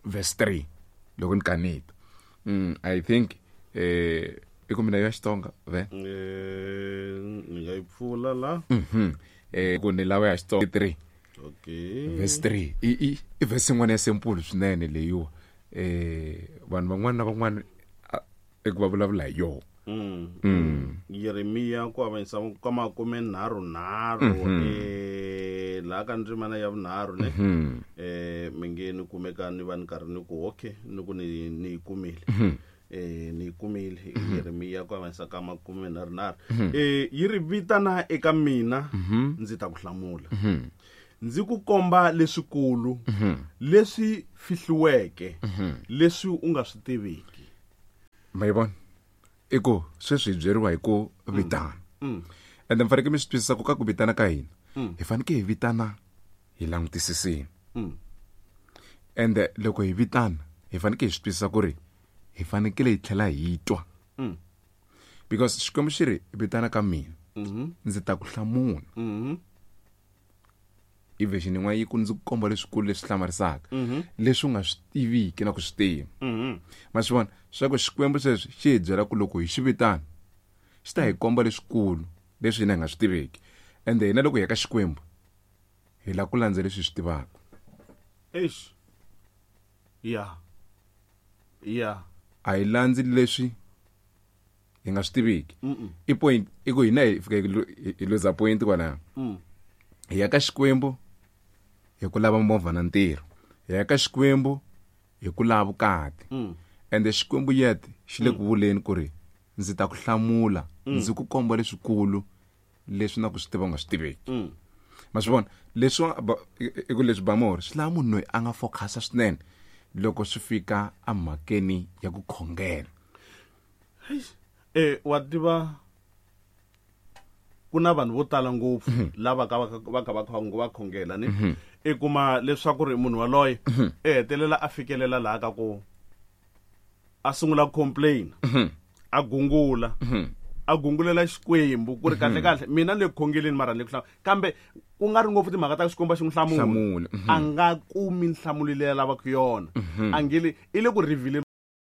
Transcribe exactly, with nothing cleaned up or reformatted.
verse three loko ni kaneta mm, i think eh i ku mina ya Xitsonga ve Eh, ni nga yi pfula la mhm eh ku ni lava ya Xitsonga three okay verse three i i i verse yin'wana ya simple swinene leyiwa eh vanhu van'wana na van'wana a- eku va vulavula hi yona Mm. mm. Yeremiya ku avanyisa ka makume nharhu nharhu eh laha ka ndzimana ya vunharhu ne Mhm. eh mi nge ni kumeka ni va ni karhi ni ku okay ni ku ni ni yi kumile eh ni yi kumile Yeremiya ku avanyisa ka makume nharhu nharhu eh yi ri vitana eka mina ndzi ta ku hlamula ndzi ku komba leswikulu leswi fihliweke leswi u nga swi tiviki ma yi vona i ku sweswi hi byeriwa hi ku vitana Mm. ende mi fanekele mi swi twisisa ku ka ku vitana ka hina hi fanekele hi vitana hi langutisisini Mm. ende loko hi vitana hi fanekele hi swi twisisa ku ri hi fanekele hi tlhela hi twa Mm. because Xikwembu xi ri vitana ka mina Mhm. ndzi ta ku hlamula Mhm. i version yin'wana yi ku ndzi ku komba leswikulu leswi hlamarisaka leswi u nga swi tiviki na ku swi tiva Mhm. ma swi vona swa ku Xikwembu sweswi xi hi byela ku loko hi xi vitana xi ta hi komba leswikulu leswi hina hi nga swi tiveki ende hina loko hi ya ka Xikwembu hi lava ku landza leswi hi swi tivaka Eish. Ya. Ya. A hi landzi leswi hi nga swi tiviki Mm. i point i ku hina hi fika hi lu- hi- hi luza point kwalaho Mm. hi ya ka Xikwembu hi ku lava movha na ntirho hi ya ka Xikwembu hi ku lava vukati Mm. ende Xikwembu yet xi le ku vuleni ku ri ndzi ta ku hlamula ndzi ku komba leswikulu leswi na ku swi tiva u nga swi tiveki Mm. ma swi vona leswi i ku leswi bamori swi lava munhu loyi a nga focusa swinene loko swi fika emhakeni ya ku khongela Eish. Eh wa tiva ku na vanhu vo tala ngopfu lava ka va va ka va khong- va khongela ni i kuma leswaku ri munhu waloye e hetelela a fikelela laha ka ku a sungula ku complain a gungula a gungulela Xikwembu ku ri kahle kahle mina le ku khongeleni mara ni le ku hlamula kambe ku nga ri ngopfu timhaka ta Xikwembu a xi n'wi hlamula Hlamula, mhm. a nga kumi nhlamulo leyi a lavaka yona a nge le i le ku reveal